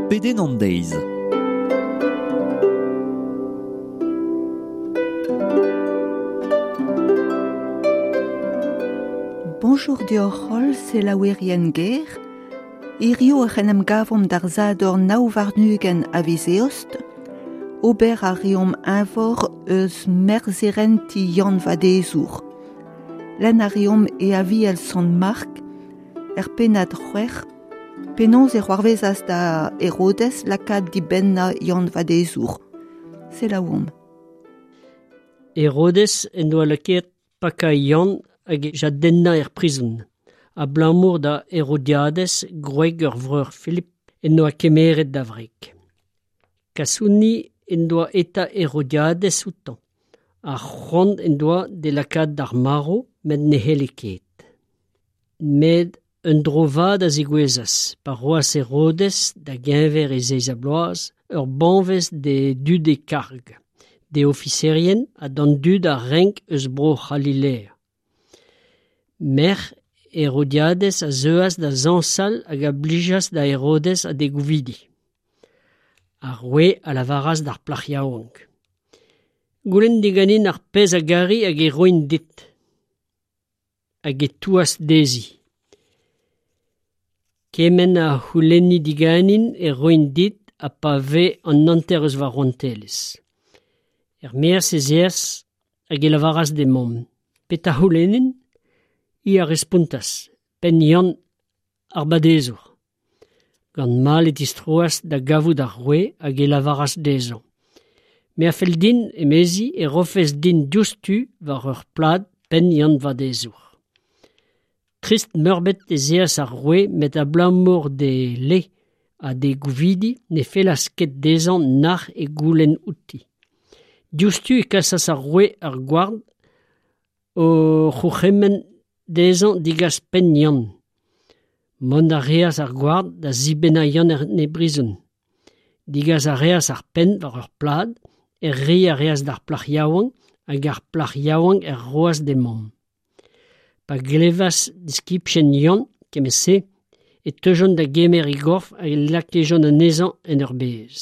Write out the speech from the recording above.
Pedenn an deiz. Bonjour deoc'h holl selaouerien ger. Hirio ec'h en em gavomp d'ar Sadorn 29 a viz Eost. Ober a reomp eñvor eus merzherenti Yann Vadezour. Lenn a reomp e Aviel Sant Mark, er pennad c'hwec'h, penaos e c'hoarvezas da Herodes lakaat dibennañ Yann Vadezour. Selaouomp. Herodes en doa lakaet pakañ Yann hag e jadennañ er prizon, abalamour da Herodiadez, gwreg ur vreur Filip, en doa kemeret da wreg. Kasoni en doa eta Herodiadez outañ, ha c'hoant en doa d'e lakaat d'ar marv met ne c'helle ket. Met un dro vat a zegouezhas pa roas Herodez da geñver e zeiz-ha-bloaz ur banvez d'e dud e karg, d'e ofiserien ha d'an dud a renk eus Bro-C'halilea. Merc'h Herodiadez a zeuas da zañsal hag a blijas da Herodez ha d'e gouvidi. Ar roue a lavaras d'ar plac'h yaouank: Goulenn diganin ar pezh a gari hag e roin dit. Hag e touas dezhi: Kement a c'houlenni diganin e roin dit ha pa vez an hanter eus va rouantelezh. Er-maez ez eas hag e lavaras d'he mamm: Petra c'houlennin ? Hi a respontas: Penn Yann ar Badezour. Gant mall e tistroas da gavout ar roue hag e lavaras dezhañ: Me a fell din, emezi, e rofes din diouzhtu war ur plad penn Yann Vadezour. Trist-meurbet ez eas ar roue met abalamour d'e le ha d'e gouvidi ne fellas ket dezhañ nac'h e goulenn outi. Diouzhtu e kasas ar roue ar gward o c'hourc'hemenn dezhañ degas penn Yann. Mont a reas ar gward da zibennañ Yann en e brizon. Degas a reas ar penn war ur plad, er reiñ a reas d'ar plac'h yaouank hag ar plac'h yaouank er roas d'he mamm. Pa glevas diskibien Yann kement-se e teujont da gemer e gorf hag e lakejont anezhañ en ur bez.